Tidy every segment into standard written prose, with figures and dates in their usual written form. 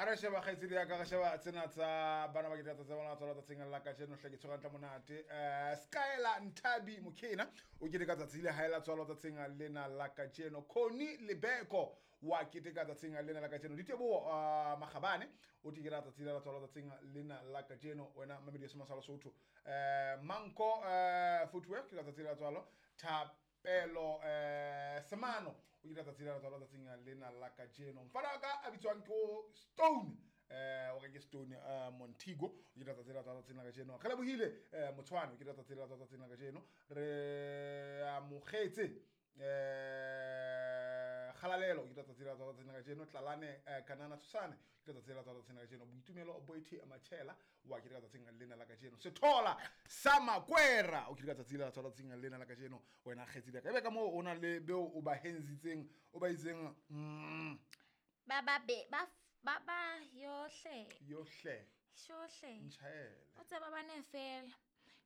re sheba kgaitsedi ya ka, re sheba tsena tsa bana ba keteka tsatsi la bona la tswalo tsatsing la kajeno. Hle ke tshwere hantle monate. Skyla Nthabi Mokhena o keteka tsatsi le hae la tswalo tsatsing lena la kajeno. Connie Lebeko wa keteka tsatsing lena la kajeno. Diteboho Makgabane o keteka tsatsi la tswalo tsatsing lena la kajeno. Wena mamedi ya Sema sa Lesotho. Manko Footwork ke tsatsi la tswalo. Thapelo Semano o keteka tsatsi la tswalo tsatsing lena la kajeno. Mfana wa ka a bitswang ke o Stone, o re ke Stone Montigo o keteka tsatsi la tswalo tsatsing la kajeno. Re lebohile Motshwane o keteka tsatsi la tswalo tsatsing la kajeno. Re amogetse Kgalalelo o keteka tsatsi la tswalo tsatsing la kajeno. Tlalane Kanana Tshosane o keteka tsatsi la tswalo tsatsing la kajeno. Boitumelo Boithe Machela wa keteka tsatsing lena la kajeno. Sethola sa Makwera o keteka tsatsi la tswalo tsatsing lena la kajeno. Wena kgaitsedi ya ka, ebe ka moo o na le beo o ba henzitseng, o ba itseng Ba ba be ba ba ba yohle. Yohle. Shohle. Ntjhaele. O tseba ba ne fela.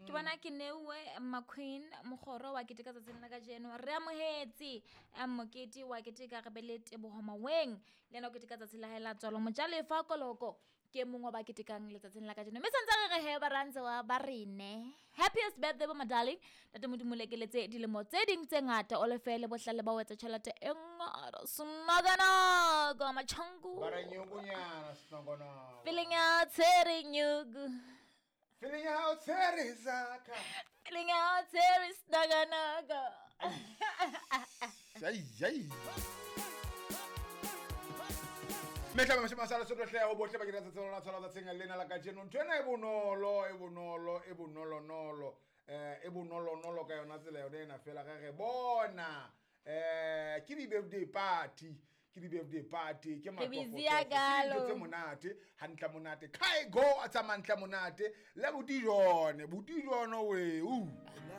Ke bona ke neuwe McQueen Mogoro wa keteka tsatsing la kajeno. Re amohetse mokete wa keteka, re be le Teboho Maweng le yena o keteka tsatsi la hae la tswalo. Mojalefa Koloko ke mongwe wa ba ketekang letsatsing la kajeno. Mme santse re re he ba rantse wa ba rene. Happiest birthday bo my darling. Ntate Modimo lekeletse dilemo tse ding tse ngata, o lefe le bohlale ba ho etsa tjhelete e ngata. Snokanoko machangu. Ba re nyokonyana snokonono. Feeling ya tshere nyuku. Feeling ya hao tshere zaka. Feeling ya tshere snokanoko. Ai ai. Mehla mashome a sa Lesotho hle ho bohle ba keteka tsatsi la tswalo tsatsing lena la kajeno. Ntho ena e bonolo, e bonolo, e bonolonolo. E bonolonolo ka yona tsela yona ena fela re re bona. Ke di-birthday party, ke di-birthday party, ke Re busy matofotofo, ya ke dintho kalo. tse monate, hantle monate. Kai go a tsamaya hantle monate le botijone, botijone we.